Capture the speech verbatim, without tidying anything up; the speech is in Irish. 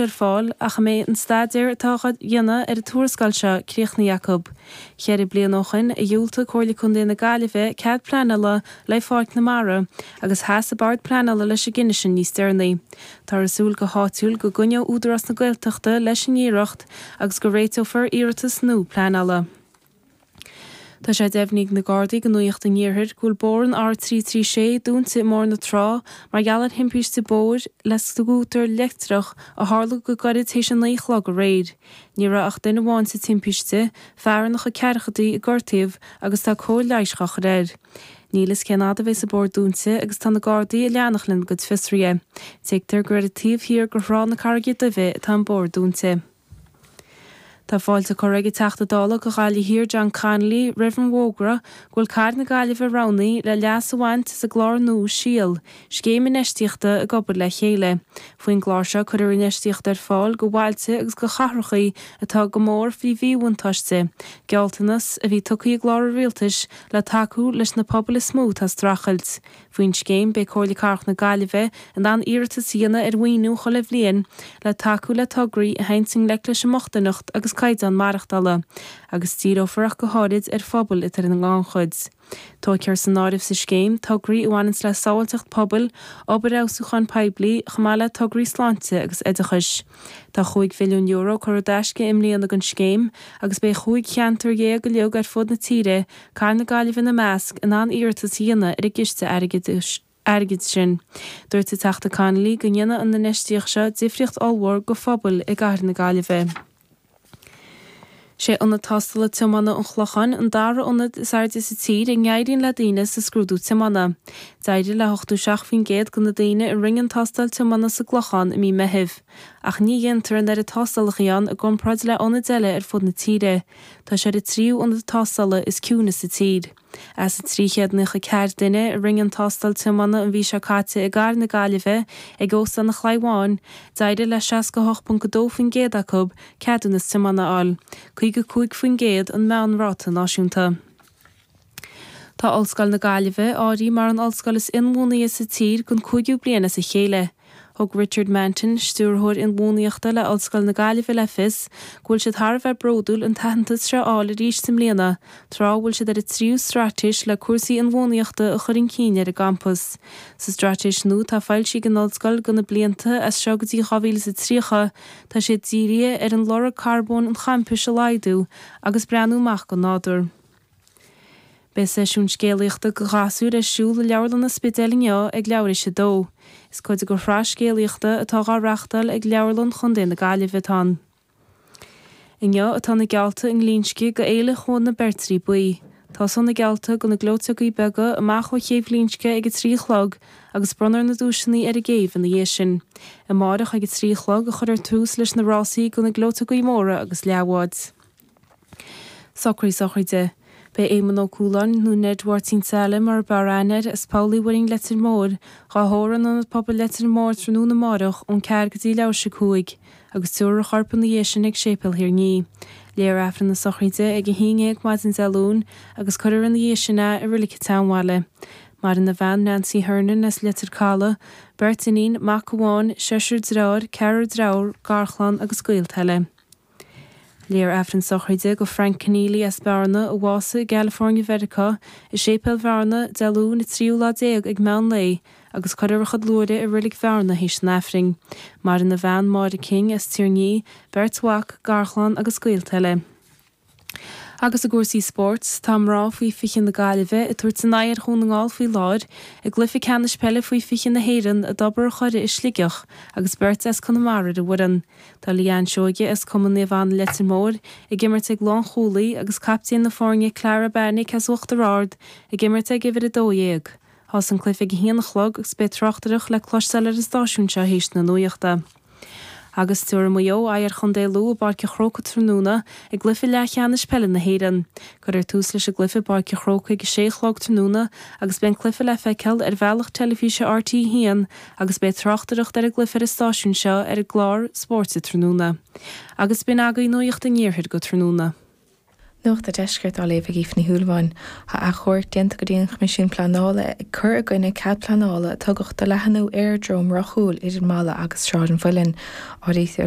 ar fáil ach a mbeidh an staidéar atá á dhéanamh ar an tuarascáil seo críochnaithe acu. Ceithre bliana ó shin a dhiúltaigh Comhairle Contae na Gaillimhe cead pleanála le Pháirc na Mara agus sheas an Bord Pleanála leis an gcinneadh sin níos deireanaí. Táthar ag súil go háitiúil go gcoinneoidh Údarás na Gaeltachta leis an iarracht agus go réiteofar iarratas nua pleanála. Tá sé deimhnithe ag na Gardaí do Nuacht an Iarthair go bhfuil bóthar an R trí trí sé dúnta i mBóthar na Trá mar gheall ar thimpiste bóthair le scútar leictreach a tharla go gairid théis a naoi a chlog aréir. Ní raibh ach duine amháin sa timpiste, fear ina chuid ceathrachaidí a gortaíodh agus tá cóir leighis á chur air. Níl fhios cén fhad a bheas an bóthar dúnta agus tá na Gardaí ag leanacht lena gcuid fiosruithe. Tuigtear gur ar an taobh thiar de Thrá na Carraige Duibhe atá an bóthar dúnta. Tá fáilte curtha ag an Teachta Dála do Ghaillimh Thiar John Connolly roimh an bhfógra go bhfuil Cathair na Gaillimhe roghnaithe le leas a bhaint as an gclár nua Síol, scéim infheistíochta ag obair le chéile. Faoin gclár seo cuirfear infheistíocht ar fáil do bhailte agus do chathracha atá go mór faoi mhíbhuntáiste, gealltanas a bhí tugtha i gclár an rialtais le tacú leis na pobail is mó atá ag streachailt. Faoin scéim, beidh Comhairle Cathrach na Gaillimhe in ann iarratas a dhéanamh ar mhaoiniú chuile bhliain le tacú le tograí a théann i ngleic leis an mbochtaineacht agus caighdeán maireachtála, agus díreofar ach go háirid ar phobail atá ar an ngannchuid. Tógfar san áireamh sa scéim tograí a bhaineanns le sábháilteacht pobail, obair fheabhsúcháin poiblí, chomh maith le tograí sláinte agus oideachais. Tá chúig mhilliún euro curtha i dtaisce i mbliana don scéim agus beidh chúig cheantar dhéag uilig ar fud na tíre, Cathair na Gaillimhe ina measc, in ann iarratas a dhéanamh ar an gciste airgeadais airgid sin. Dúirt an Teachta Connolly go ndéanfaidh an infheistíocht seo difríocht ollmhór do phobail i gCathair na Gaillimhe. Sé ionad tástála tiomána an Chlocháin an dara ionad is airde sa tír a n-éiríonn le daoine sa scrúdú tiomána. D'éirigh le hochtó seacht faoin gcéad de na daoine a rinne an tástáil tiomána sa gClochán i mí Meithimh. Ach ní dhéantar an oiread tástálacha ann i gcomparáid le ionaid eile ar fud na tíre. Tá sé ar an tríú ionad tástála is ciúine sa tír. As an trí chéad nócha ceathair duine a rinne an tástáil tiomána an mhí seo caite i gCathair na Gaillimhe ag Óstán an Chlaí Bháin, d'éirigh le seasca a hocht ponc a dó faoin gcéad acu ceadúnas tiomána a fháil, caoga cúig faoin gcéad an meánráta náisiúnta. Tá Ollscoil na Gaillimhe áirithe mar an ollscoil is inbhuanaithe sa tír don cúigiú bliain as a chéile. Thug Richard Manton, stiúrthóir inbhuanaitheachta le Ollscoil na Gaillimhe le fios go bhfuil siad thar a bheith bródúil an t-aitheantas seo a fháil arís i mbliana, tráth a bhfuil siad ar a tríú straitéis le cúrsaí inbhuanaitheachta a chur chun cinn ar an gcampas. Sa straitéis nua atá foilsithe ag an ollscoil do na blianta as seo go dtí dhá mhíle is a tríocha, tá siad dírithe ar an lorg carbóin an champais a laghdú agus breathnú amach don nádúr. Beidh seisiún scéalaíochta do ghasúir ar siúl i Leabharlann an Spidéil inniu ag leathuair théis a dó. Is cuid de shraith scéalaíochta atá á reáchtáil ag Leabharlann Chontae na Gaillimhe atá ann. Inniu atá na geallta i nGlinsce do Fhéile Chuan na Beirtrí Buí. Tosóidh na geallta do na gleoiteogaí beaga amach ó chéibh Ghlinsce ag a trí a chlog agus bronnfar na duaiseanna ar an gcéibh ina dhiaidh sin. Amárach ag a trí a chlog a chuirfear tús leis na rásaí do na gleoiteogaí móra agus leathbháid. Socruithe sochraide. Beidh Éamonn Ó Cualáin, nó Ned Mháirtín Saile mar ab fhearr aithne air, as Poll Uí Mhuirinn Leitir Móir, dhá thórramh in Ionad Pobail Leitir Móir tráthnóna amárach ón ceathair go dtí leathuair théis a cúig, agus tabharfar a chorp ina dhiaidh sin ag Séipéal Thír an Fhia. Léifear Aifreann na sochraide ag a haon déag maidin Dé Luain agus cuirfear ina dhiaidh sin é i Reilig an tSeanbhaile. Maireann a bhean Nancy Hernon as Leitir Caladh, beirt iníon, mac amháin, seisear dearthár, ceathrar deirfiúr, garchlann agus gaolta eile. Léifear Aifreann sochraide do Frank Keneally as Bearna a bhásaigh i gCalifornia Mheiriceá i Séipéal Bhearna Dé Luain an tríú lá déag ag meán lae agus cuirfear a chuid luaithre i Reilig Bhearna théis an Aifrinn. Maireann a bhean Máire King as Tír an Fhia, beirt mhac, garchlann agus gaolta eile. Agus i gcúrsaí spóirt, tá mná faoi fiche na Gaillimhe ag tabhairt a n-aghaidh ar Dhún na nGall faoi láthair i gcluiche ceannais peile faoi fiche na hÉireann i dTobar an Choire i Sligeach agus beirt as Conamara ar an bhfoireann. Tá Leanne Seoige as Cumann Naomh Anna Leitir Móir ag imirt ag lánchúlaí agus captaen na foirne Clara Bannick as Uachtar Ard ag imirt ag uimhir a dó dhéag. Thosaigh an cluiche ag a haon a chlog agus beidh tráchtaireacht le cloisteáil ar an stáisiún seo théis na nuachta. Agus tabharfaidh Maigh Eo aghaidh ar Chontae Lú i bPáirc an Chrócaigh tráthnóna i gcluiche leathcheannais peile na hÉireann. Cuirfear tús leis an gcluiche i bPáirc an Chrócaigh ag a sé a chlog tráthnóna agus beidh an cluiche le feiceáil ar bhealach teilifíse RTÉ a haon agus beidh tráchtaireacht ar an gcluiche ar an stáisiún seo ar an gclár spóirt tráthnóna. Agus b'in agaibh Nuacht an Iarthair go tráthnóna. Nuacht an Deiscirt á léamh ag Aoife Ní Shúilleabháin. Tá achomharc déanta go dtí an Choimisiún Pleanála ag cur i gcoinne cead pleanála a tugadh do leathnú aeradróm Ráth Cúil idir Mala agus Sráid an Mhuilinn. Áirítear